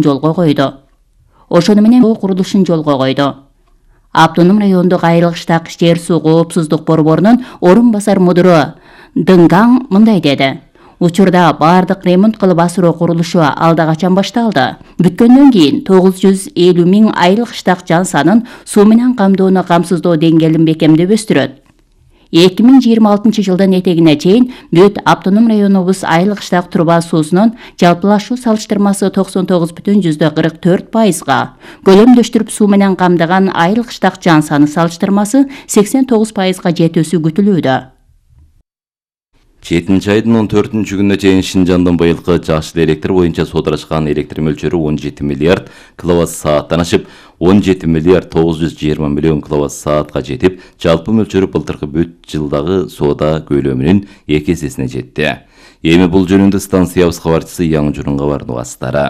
жолго койду. Ошону менен курулушун жолго койду. Автоном райондук айрылыштак жер суу коопсуздук борборунун орун басар мудуру Дыңгаң мындай деди. Учурда бардык ремонт кылып асыруу курулушу алда качан башталды. Бүткөндөн кийин 950 миң айылык штак жан санын суу менен камдоону камсыздоо деңгээлин бекемдеп өстүрөт. 2026 жылдын этегине чейин бүт автоном районубуз айылык штак турба суусунун жалпылашуу салыштырмасы 99,44%, көлөмдөштүрүп суу менен камдаган айылык штак жан саны салыштырмасы 89%га жетүүсү күтүлүүдө. 7 айдын 14-күнүнө чейин Шинжандын быйылкы жашыл электр боюнча соодалашкан электр мөлчөрү 17 миллиард киловатт-сааттан ашып, 17 миллиард 920 миллион киловатт-саатка жетип, жалпы мөлчөрү былтыркы бүт жылдагы соода көлөмүнүн 2 эсесине жетти. Эми бул жөнүндө станциябыз кабарчысы Яң Журунга бардык астары.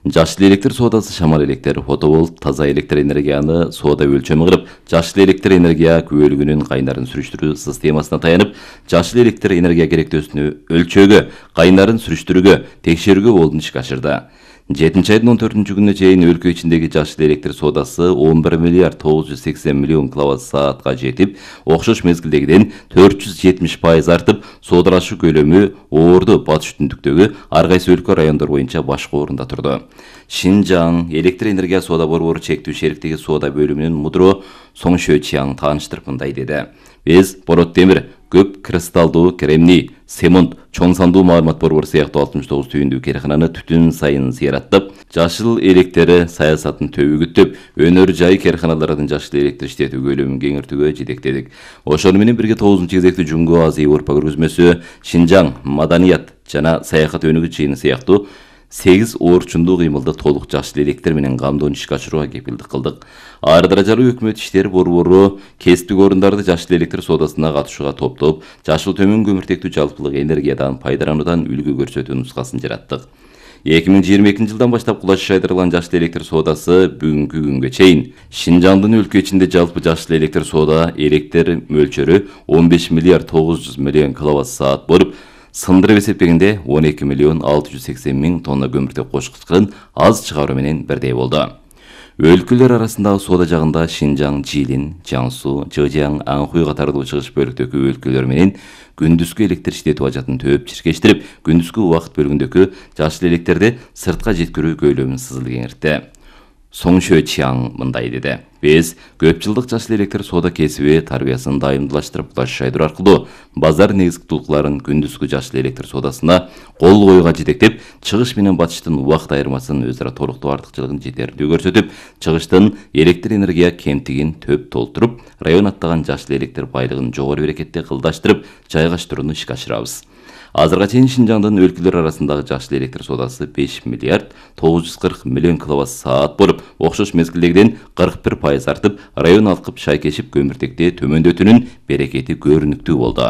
Жашыл электр соодасы шамал электр, фотоволт, таза электр энергияны соода өлчөмү кылып, жашыл электр энергия күбөлүгүнүн кайнарын сүрүштүрүү системасына таянып, жашыл электр энергия керектөөсүнү өлчөөгө, кайнарын сүрүштүрүүгө, текшерүүгө болдун ишке ашырды. 7 айдын 14-күнүнө чейин өлкө ичиндеги жашыл электр соодасы 11 миллиард 980 миллион киловатт-саатка жетип, окшош мезгилдегиден 470% артып, соодалашуу көлөмү Орду батыш түндүктөгү ар кайсы өлкө райондор боюнча башкы орунда турду. Шинжаң электр энергия соода борбору чектүү шериктиги соода бөлүмүнүн мудуру Соң Шөчияң тааныштырып мындай деди. Биз борот темир, көп кристалдуу, кремний, семонт, чоң сандуу маалымат борбору сыяктуу 69 түйүндүү керекананы түтүн сайын зыяраттап, жашыл электр саясатын төбөгүттөп, өнөр жай кереканалардын жашыл электр иштетүү көлөмүн кеңейтүүгө жетектедик. Ошону менен бирге 9-кезекти Жумгу Азия Европа көргөзмөсү, Шинжаң маданият жана саякат өнүгүү жыйыны сыяктуу 8 орчундуу кыймылды толук жашыл электр менен камдоону ишке ашырууга кепилдик кылдык. Ар даражалуу өкмөт иштери борбору кесиптик орундарды жашыл электр соодасына катышууга топтоп, жашыл төмөн көмүртектүү жалпылык энергиядан пайдалануудан үлгү көрсөтүү нускасын жараттык. 2022 жылдан баштап кулач шайдырылган жашыл электр соодасы бүгүнкү күнгө чейин Шинжаңдын өлкө ичинде жалпы жашыл электр соода электр мөлчөрү 15 миллиард 900 миллион киловатт-саат болуп, сындырып эсептегенде 12 миллион 680 миң тонна көмүртек кошкучтарын аз чыгаруу менен бирдей болду. Өлкөлөр арасындагы соода жагында Шинжаң, Жилин, Жаңсу, Жыжаң, Аңхуй катарлуу чыгыш бөлүктөгү өлкөлөр менен күндүзгү электр иштетүү ажатын төп чиркештирип, күндүзгү убакыт бөлүгүндөгү жашыл электрди сыртка жеткирүү көлөмүн сызыл кеңиртти. Соң Шөчияң мындай деди. Биз көп жылдык жашыл электр соода кесиби тарбиясын дайымдуулаштырып, кулач шайдыруу аркылуу базар негизги тулкуларын күндүзгү жашыл электр соодасына кол коюуга жетектеп, чыгыш менен батыштын убакыт айырмасын өз ара толуктоо артыкчылыгын жетерлүү көрсөтүп, чыгыштын электр энергия кемтигин төп толтуруп, район аттаган жашыл электр байлыгын жогору берекетте кылдаштырып, жайгаштырууну ишке ашырабыз. Азырга чейин Шинжаңдын өлкөлөр арасындагы жашыл электр соодасы 5 миллиард 940 миллион киловатт-саат болуп, окшош мезгилдегиден 41% артып, район алкып шайкешип көмүртекти төмөндөтүүнүн берекети көрүнүктүү болду.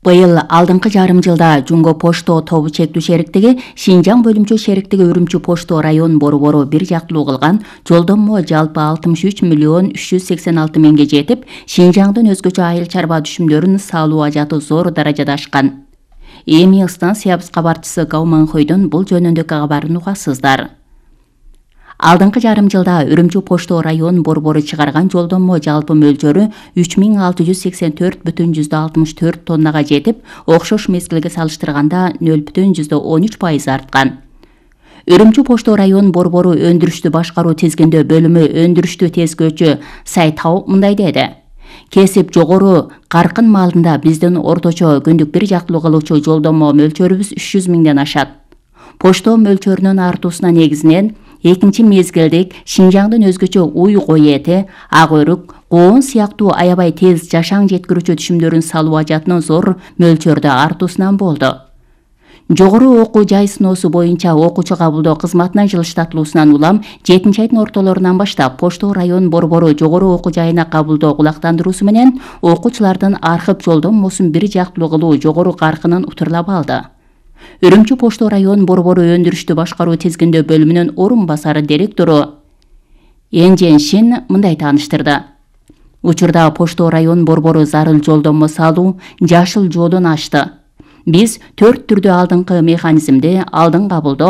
Быйыл алдыңкы жарым жылда Жумго Пошто тобу чектүү шериктиги Шинжаң бөлүмчө шериктиги Үрүмчү Пошто район борбору бир жактылуу кылган жолдомо жалпы 63 миллион 386 миңге жетип, Шинжаңдын өзгөчө айыл чарба түшүмдөрүн салуу ажаты зор даражада ашкан. Эми станциябыз кабарчысы Гау Манхойдон бул жөнүндө кабарын угасыздар. Алдыңкы жарым жылда Үрүмчү Пошто район борбору чыгарган жолдомо жалпы мөлчөрү 3684,64 тоннага жетип, окшош мезгилге салыштырганда 0,13% арткан. Үрүмчү Пошто район борбору өндүрүштү башкаруу тизгиндөө бөлүмү өндүрүштү тезкөөчү Сайтау мындай деди. Кесип жогору каркын маалында биздин орточо күндүк бир жактылуу кылуучу жолдомо мөлчөрүбүз 300 миңден ашат. Пошто мөлчөрүнүн артуусуна негизинен экинчи мезгилдик Шинжаңдын өзгөчө уй кой эти, ак өрүк, коон сыяктуу аябай тез жашаң жеткирүүчү түшүмдөрүн салуу ажатынын зор мөлчөрдө артуусунан болду. Жогору окуу жай сыноосу боюнча окуучу кабылдоо кызматына жылыштатылуусунан улам 7 айдын ортолорунан баштап Пошто район борбору жогору окуу жайына кабылдоо кулактандыруусу менен окуучулардын архып жолдомосун бир жактылуу кылуу жогору каркынын утурлап алды. Үрүмчү Пошто район борбору өндүрүштү башкаруу тизгиндөө бөлүмүнүн орун басары директору Энжен Шин мындай тааныштырды. Учурда Пошто район борбору зарыл жолдомо салуу, жашыл жолун ачты. Биз 4 түрдүү алдыңкы механизмди алдын кабылдоо